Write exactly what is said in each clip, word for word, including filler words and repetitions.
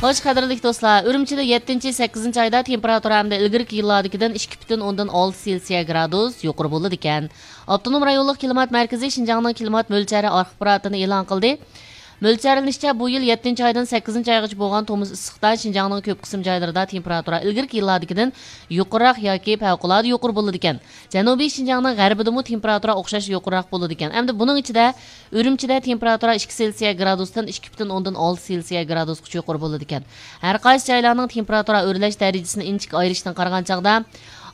خوش، قەدىرلىك دوستلار، ئۈرۈمچىدە يەتتىنچى، سەككىزىنچى ئايدا تېمپېراتۇرا ئەمدى ئىلگىرىكى يىللاردىكىدىن ئىككى پۈتۈن ئوندىن ئالتە سېلسىيە گرادۇس يۇقىرى بولىدىكەن. ئاپتونوم رايونلۇق كىلىمات مەركىزى شىنجاڭنىڭ كىلىمات مۆلچەرى ئاخباراتىنى ئېلان قىلدى. مۆلچەرلىنىشىچە، بۇ يىل يەتتىنچى ئايدىن سەككىزىنچى ئايغىچە بولغان تومۇز ئىسسىقتا شىنجاڭنىڭ كۆپ قىسىم جايلىرىدا تېمپېراتۇرا ئىلگىرىكى يىللاردىكىدىن يۇقىرىراق ياكى پەۋقۇلئاددە يۇقىرى بولىدىكەن. جەنۇبىي شىنجاڭنىڭ غەربىدىمۇ تېمپېراتۇرا ئوخشاش يۇقىرىراق بولىدىكەن. ئەمدى بۇنىڭ ئىچىدە ئۈرۈمچىدە تېمپېراتۇرا ئىككى سېلسىيە گرادۇستىن ئىككى پۈتۈن ئوندىن ئالتە سېلسىيە گرادۇسقىچە يۇقىرى بولىدىكەن. ھەر قايسى جايلارنىڭ تېمپېراتۇرا ئۆرلەش دەرىجىسىنى ئىنچىكە ئايرىشتىن قارىغان چاغدا،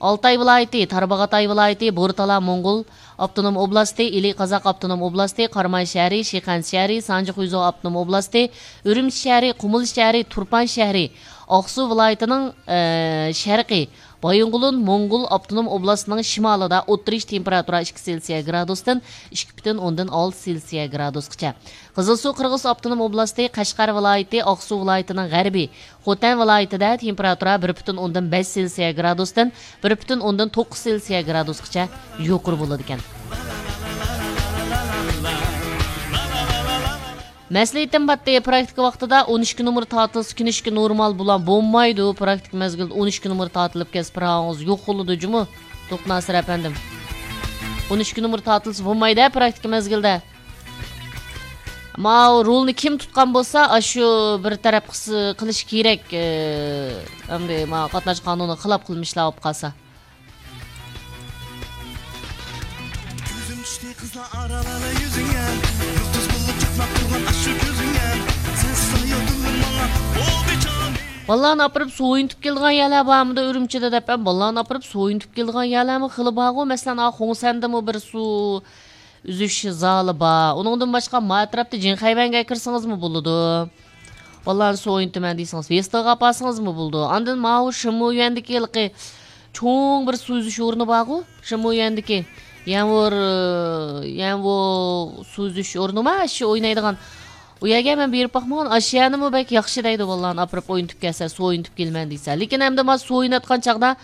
ئالتاي ۋىلايىتى، تارباغاتاي ۋىلايىتى، بورتالا موڭغۇل ئاپتونوم ئوبلاستى، ئىلى قازاق ئاپتونوم ئوبلاستى، قاراماي شەھىرى، شىخەنزە شەھىرى، سانجى خۇيزۇ ئاپتونوم ئوبلاستى، ئۈرۈمچى شەھىرى، قۇمۇل شەھىرى، تۇرپان شەھىرى، ئاقسۇ ۋىلايىتىنىڭ، ئە، شەرقى، بايىنغولىن موڭغۇل ئاپتونوم ئوبلاستىنىڭ شىمالىدا ئوتتۇرىچە تېمپېراتۇرا ئىككى سېلسىيە گرادۇستىن ئىككى پۈتۈن ئوندىن ئالتە سېلسىيە گرادۇسقىچە. قىزىلسۇ قىرغىز ئاپتونوم ئوبلاستى، قەشقەر ۋىلايىتى، ئاقسۇ ۋىلايىتىنىڭ غەربى، خوتەن ۋىلايىتىدە تېمپېراتۇرا بىر پۈتۈن ئوندىن بەش سېلسىيە گرادۇستىن بىر پۈتۈن ئوندىن توققۇز سېلسىيە گرادۇسقىچە يۇقىرى بولىدىكەن. مەسلىھىتىم باتتى، پراكتىكا ۋاقتىدا ئون ئىككى نومۇر تارتىلسا، كىنىشكا نورمال بولام، بولمايدۇ. پراكتىكا مەزگىلىدە ئون ئىككى نومۇر تارتىلىپ كەتسە، پىراۋىڭىز يوق بولىدۇ جۇمۇ، دوقناسىر ئەپەندىم. ئون ئىككى نومۇر تارتىلسا بولمايدۇ، پراكتىكا مەزگىلىدە. ماۋۇ رولنى كىم تۇتقان بولسا، ئاشۇ بىر تەرەپ قىس-، قىلىش كېرەك. ئە، ئەمدى ماۋۇ قاتناش قانۇنىغا خىلاپ قىلمىشلار بولۇپ قالسا. كۆزۈم چۈشتى قىزلار ئارىلالا يۈزۈڭگە، يۇلتۇز بولۇپ چاقناپ تۇرغان ئاشۇ كۆزۈڭگە، سەنسىز ھاياتىمدىن ماڭا بولدى جانىم. بالىلارنى ئاپىرىپ سويۇنتۇپ كېلىدىغان يەرلەر بارمىدۇ ئۈرۈمچىدە دەپ، بالىلارنى ئاپىرىپ سويۇنتۇپ كېلىدىغان يەرلەرمۇ خېلى بارغۇ. مەسىلەن، ئا، خۇڭسەندىمۇ بىر سۇ ئۈزۈش زالى بار. ئۇنىڭدىن باشقا، ما ئەتراپتا جىڭخەيۋەنگە كىرسىڭىزمۇ بولىدۇ. بالىلارنى سويۇنتىمەن دېسىڭىز، ۋېستىغا ئاپارسىڭىزمۇ بولىدۇ. ئاندىن ماۋۇ شىمۇيۈەندىكى ھېلىقى چوڭ بىر سۇ ئۈزۈش ئورنى بارغۇ، شىمۇيۈەندىكى يەنۋور، يەنۋو سۇ ئۈزۈش ئورنىما، ئاشۇ ئوينايدىغان. ئۇ يەرگە مەن بېرىپ باقمىغان، ئاشۇ يەرنىمۇ بەك ياخشى دەيدۇ، بالىلارنى ئاپىرىپ ئوينىتىپ كەلسە، سۇ ئوينىتىپ كېلىمەن دېسە. لېكىن ئەمدى ما سۇ ئويناتقان چاغدا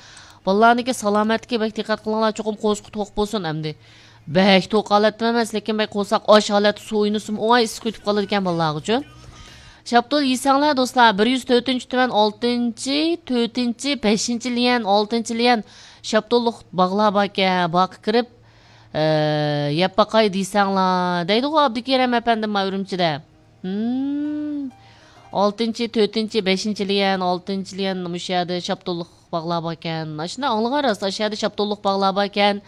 بالىلارنىڭكى سالامەتلىكىگە بەك دىققەت قىلىڭلار، چوقۇم قورسىقى توق بولسۇن ئەمدى. بەك توق ھالەتتە ئەمەس، لېكىن بەك قورساق ئاچ ھالەتتە سۇ ئوينىسىمۇ ئوڭاي ئىسسىق ئۆتۈپ قالىدىكەن بالىلارغىچۇ. شاپتۇل يېسەڭلار دوستلار، بىر يۈز تۆتىنچى تۈمەن ئالتىنچى، تۆتىنچى، بەشىنچى ليەن، ئالتىنچى ليەن شاپتۇللۇق باغلار باركەن، باغقا كىرىپ، ئە، يەپ باقاي دېسەڭلار دەيدىغۇ ئابدۇكېرەم ئەپەندىم ما ئۈرۈمچىدە. ھىم. ئالتىنچى، تۆتىنچى، بەشىنچى ليەن، ئالتىنچى ليەن مۇشۇ يەردە شاپتۇللۇق باغلار باركەن. ئاشۇنداق ئاڭلىغان راست، ئاشۇ يەردە شاپتۇللۇق باغلار باركەن.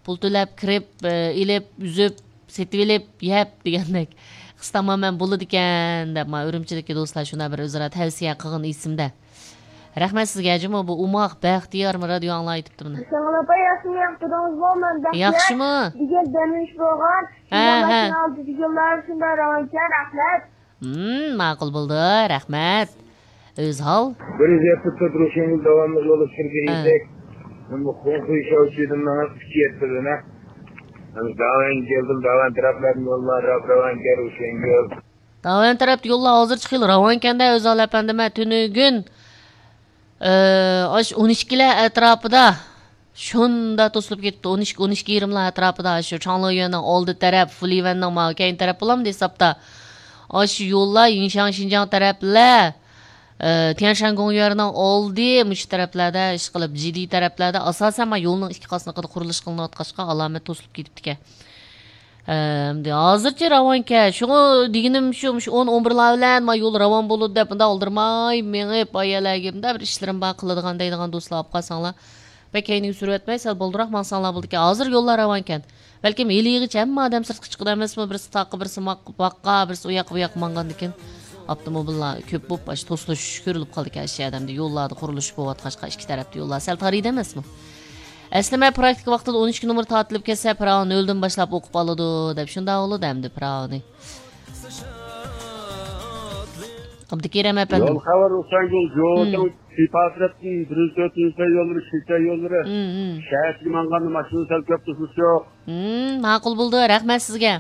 پۇل تۆلەپ كىرىپ، ئېلىپ، ئۈزۈپ، سېتىۋېلىپ، يەپ دېگەندەك. قىس تامامەن بولىدىكەن دەپ، ما ئۈرۈمچىدىكى دوستلار شۇنداق بىر ئۆزئارا تەۋسىيە قىلغىنى ئېسىمدە. رەھمەت سىزگە، جۇمۇ بۇ ئوماق بەختىيار رادىيو ئاڭلاۋېتىپتۇ بۇنى. ساڭلار ئاپا، ياخشىمۇ ياقتۇردىڭىزمۇ؟ مەن بەختىيار. ياخشىمۇ؟ بۈگۈن دەم ئېلىش بولغان. ھە، ھە. ماشىنا ئالدىدىكىلەر شۇنداق راۋانكەن، رەھمەت. ھىم، ماقۇل بولدى، رەھمەت. ئۆزھال. بىر يۈز يەتمىش تۆت روشەنگۈل داۋاملىق يولدا سۈرگەن ھە. ئىدۇق. بۇ خۇڭخۇي شاۋچىدىن ماڭا ئۈچ يەتتە دېنە. داۋان كەلدىم، داۋان تەرەپلەردىن يوللار راپ راۋانكەن روشەنگۈل. داۋان تەرەپتە يوللار ھازىرچە خېلى راۋانكەندە، ئۆزھال ئەپەندىم، تۈنۈگۈن، ئە، ئاشۇ ئون ئىككىلەر ئەتراپىدا شۇنداق توسۇلۇپ كېتىپتۇ. ئون ئىككى، ئون ئىككى يېرىملار ئەتراپىدا شۇ چاڭلىيۈەننىڭ ئالدى تەرەپ، فۇلىۋەننىڭ ماۋۇ كەينى تەرەپ بولامدۇ ھېسابتا. ئاشۇ يوللار يىڭشاڭ شىنجاڭ تەرەپلەر، ئە، تيەنشان گوڭيۈەننىڭ ئالدى، مۇشۇ تەرەپلەردە، ئىشقىلىپ، جىدى تەرەپلەردە، ئاساسەن، ما يولنىڭ ئىككى قاسنىقىدا قۇرۇلۇش قىلىنىۋاتقاچقا، ئالامەت توسۇلۇپ كېتىپتىكەن. ئەمدى ھازىرچە راۋانكەن. شۇڭا دېگىنىم شۇ، مۇشۇ ئون، ئون بىرلار بىلەن ما يول راۋان بولىدۇ دەپ، مۇنداق ئالدىرىماي مېڭىپ، ئايالەرگە مۇنداق بىر ئىشلىرىم بار، قىلىدىغان دەيدىغان دوستلار ئاپ قالساڭلار. بەك كەينىگە سۈرۈۋەتمەي، سەل بالدۇرراق ماڭساڭلار بولىدىكەن. ھازىر يوللار راۋانكەن. بەلكىم ھېلىغىچە ھەممە ئادەم سىرتقا چىقىدۇ ئەمەسمۇ؟ بىرسى تاغقا، بىرسى ماق-، باغقا، بىرسى ئۇ ياققا، بۇ ياققا ماڭغاندىكىن ئاپتوموبىللار كۆپ بولۇپ، ئاشۇ توسۇلۇش كۆرۈلۈپ قالىدىكەن ئاشۇ يەردە. ئەمدى يوللاردا قۇرۇلۇش بولۇۋاتقاچقا، ئىككى تەرەپتە يوللار سەل تارىيدۇ ئەمەسمۇ؟ ئەسلىمە پراكتىكا ۋاقتىدا ئون ئىككى نومۇر تارتىلىپ كەتسە، پىراۋا نۆلدىن باشلاپ ئوقۇپ ئالىدۇ، دەپ شۇنداق بولىدۇ ئەمدى پىراۋىنى. ئابدۇكېرەم ئەپەندىم. يول خەۋىرى ئۇسانگۈل، ھىم. جوۋاڭ سىپاسىرەتتىن بىر يۈز تۆتىنچى يوللىرى، شىنجاڭ يوللىرى. ھىم، ھىم. شەھەرگە ماڭغاندا ماشىنا سەل كۆپ توسۇلۇش يوق. ھىم، ماقۇل بولدى، رەھمەت سىزگە.